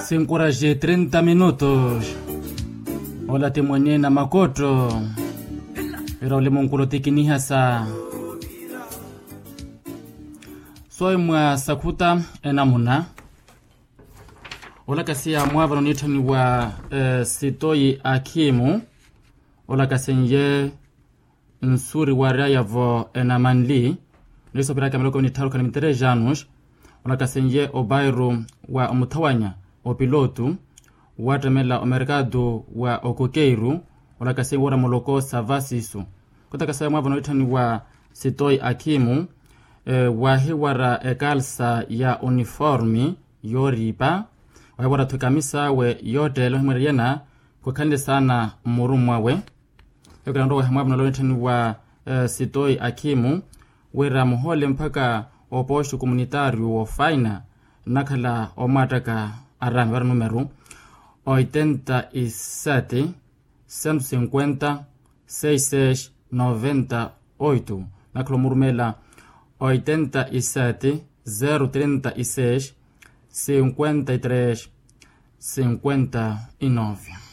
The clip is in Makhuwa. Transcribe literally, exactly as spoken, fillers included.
Cinco horas e trinta minutos. Ola ti mwenye na makotto. Era ole munkulo ti kinihasa. Soyi mwa sakhuta enamuna. Olakasiya mwaavano niitthaniwa sitoyi akhimu. Olakasenye nsuri waaryaya-vo enamanli. Niisoperaka miloko nitthaaru khana mitereja anus. Olakasenye opairu wa omuthawanya opilotu. Waattemela omerkatu wa okokeiru. Olakasenye woora muloko sa vasisu. Khutakasaya mwaavano niitthaniwa sitoyi akhimu. Waahiwara ekalsa ya uniformi yooriipa. Waahiwara-tho ekamisa awe yootteela ohimwereriyana. Khukhanle saana mmurumu awe. Yookela nrowa ehemwaavuna olonitthaniwa sitoyi akhimu. Wira muhoole mpakha opooxi komunitaariyu woofaina nnakhala omwaattaka araami para numeru oitenta e sete, sento sinkwenta, seis seis noventa oito. Nnakhala omurumeela oitenta e sete, zero trinta e seis, sinkwenta e tres, sinkwenta e nove.